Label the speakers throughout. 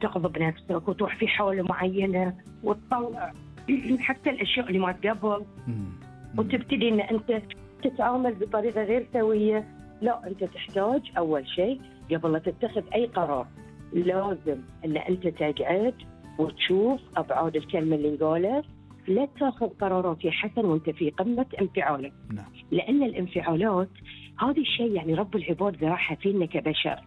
Speaker 1: تغضب نفسك وتروح في حالة معينة وتطلع حتى الأشياء اللي ما قبل، وتبتدي إن أنت تتعامل بطريقة غير سوية. لا، أنت تحتاج أول شيء قبل لا تتخذ أي قرار لازم إن أنت تقعد وتشوف أبعاد الكلمة اللي انقالت. لا تأخذ قرارات يا حسن وأنت في قمة انفعالك، لأن الانفعالات هذا الشيء يعني رب العباد ذراعها فينا كبشر.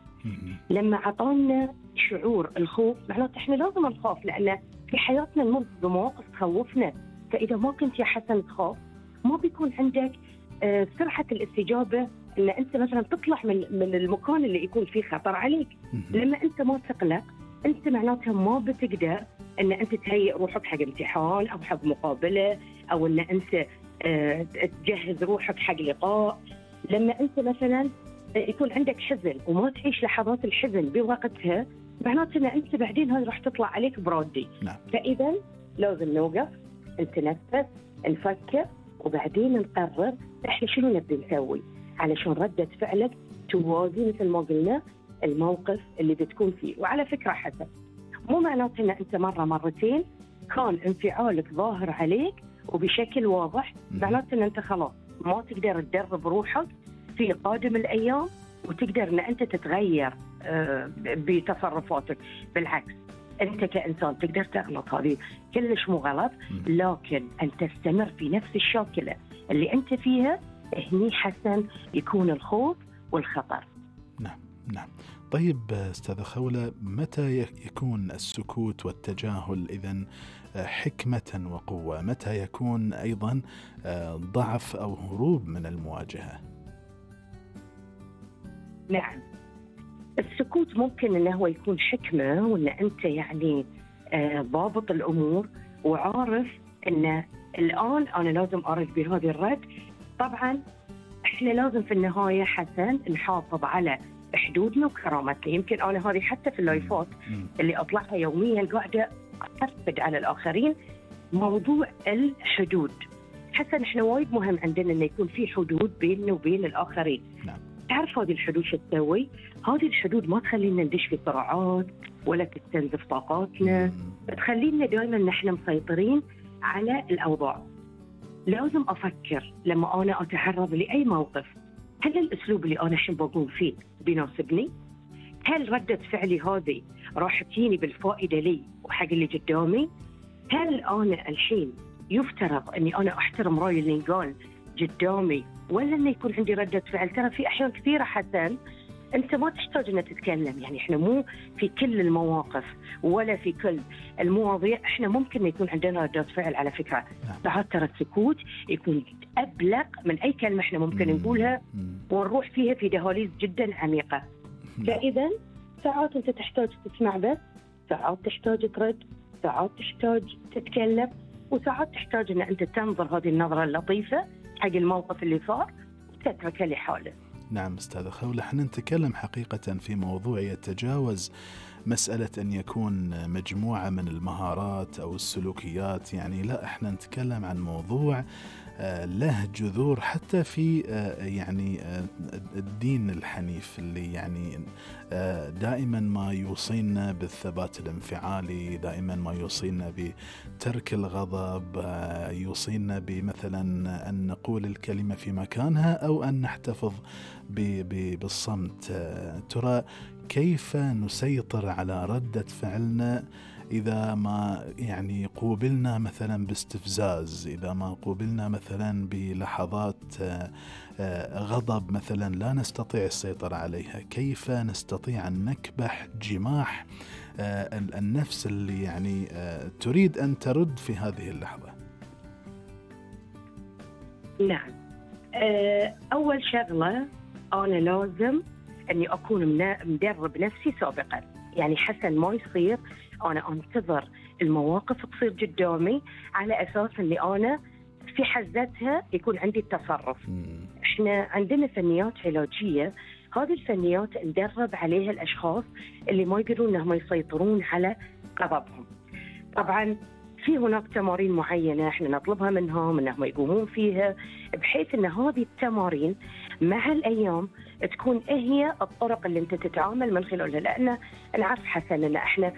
Speaker 1: لما عطانا شعور الخوف معناته إحنا لازم نخاف، لأن في حياتنا نمر بمواقف تخوفنا. فإذا ما كنت يا حسن تخاف ما بيكون عندك سرعة الاستجابة إن أنت مثلا تطلع من المكان اللي يكون فيه خطر عليك. لما أنت ما تقلق أنت معناتها ما بتقدر إن أنت تهيئ روحك حق امتحان أو حق مقابلة، أو إن أنت تجهز روحك حق لقاء. لما أنت مثلا يكون عندك حزن وما تعيش لحظات الحزن بوقتها معناته إن أنت بعدين هاي راح تطلع عليك برادي. فإذا لازم نوقف، نتنفس، نفكر، وبعدين نقرر إحنا شنو نبي نسوي علشان ردة فعلك توازي مثل ما قلنا الموقف اللي بتكون فيه. وعلى فكرة حسن، مو معناته إن أنت مرة مرتين كان انفعالك ظاهر عليك وبشكل واضح معناته إن أنت خلاص ما تقدر تدرب روحك في قادم الأيام وتقدر إن أنت تتغير بتصرفاتك. بالعكس، أنت كإنسان تقدر تغلط، هذه كلش مو غلط، لكن أن تستمر في نفس الشاكلة اللي أنت فيها هني حسن يكون الخوف والخطر.
Speaker 2: نعم. طيب أستاذة خولة، متى يكون السكوت والتجاهل إذن حكمة وقوة؟ متى يكون أيضا ضعف أو هروب من المواجهة؟
Speaker 1: نعم، السكوت ممكن أنه هو يكون حكمة، وأن أنت يعني ضابط الأمور وعارف أن الآن أنا لازم أرد بهذه الرد. طبعا إحنا لازم في النهاية حسن نحافظ على حدودنا وكرامتنا. يمكن أنا هذه حتى في اللايفات اللي أطلعها يوميا قاعدة أفقد على الآخرين موضوع الحدود. حسن إحنا وايد مهم عندنا أن يكون في حدود بيننا وبين الآخرين. تعرف هذه الحدود شو تسوي؟ هذه الحدود ما تخلينا ندش في صراعات ولا تستنزف طاقاتنا، تخلينا دائما نحن مسيطرين على الأوضاع. لازم أفكر لما أنا أتعرض لأي موقف، هل الأسلوب اللي أنا الحين بقوم فيه بيناسبني؟ هل ردة فعلي هذه راح تجيني بالفائدة لي وحق اللي قدامي؟ هل أنا الحين يفترض أني أنا أحترم رأي اللي ينقال قدامي ولا أنه يكون عندي ردة فعل؟ ترى في أحيان كثيرة حسن أنت ما تحتاج أن تتكلم، يعني إحنا مو في كل المواقف ولا في كل المواضيع إحنا ممكن يكون عندنا ردة فعل. على فكرة ساعات ترى السكوت يكون أبلغ من أي كلمة إحنا ممكن نقولها ونروح فيها في دهاليز جدا عميقة. فإذا ساعات أنت تحتاج تسمع بس، ساعات تحتاج ترد، ساعات تحتاج تتكلم، وساعات تحتاج أن أنت تنظر هذه النظرة اللطيفة حق الموقف اللي صار وتتركه لحاله.
Speaker 2: نعم أستاذة خولة، احنا نتكلم حقيقة في موضوع يتجاوز مسألة أن يكون مجموعة من المهارات أو السلوكيات، يعني لا، احنا نتكلم عن موضوع له جذور حتى في يعني الدين الحنيف اللي يعني دائما ما يوصينا بالثبات الانفعالي، دائما ما يوصينا بترك الغضب، يوصينا بمثلا أن نقول الكلمة في مكانها أو أن نحتفظ بالصمت. ترى كيف نسيطر على ردة فعلنا إذا ما يعني قوبلنا مثلا باستفزاز، إذا ما قوبلنا مثلا بلحظات غضب مثلا لا نستطيع السيطرة عليها؟ كيف نستطيع أن نكبح جماح النفس اللي يعني تريد أن ترد في هذه اللحظة؟
Speaker 1: نعم، أول شغلة أنا لازم أني أكون مدرب نفسي سابقا. يعني حسن ما يصير أنا أنتظر المواقف تصير قدامي على أساس أني أنا في حزتها يكون عندي التصرف. إحنا عندنا فنيات علاجية، هذه الفنيات ندرب عليها الأشخاص اللي ما يقدرون أنهم يسيطرون على غضبهم. طبعا في هناك تمارين معينة إحنا نطلبها منهم أنهم يقومون فيها، بحيث أن هذه التمارين مع الأيام تكون هي الطرق اللي أنت تتعامل من خلالها. لأن نعرف حسن أن إحنا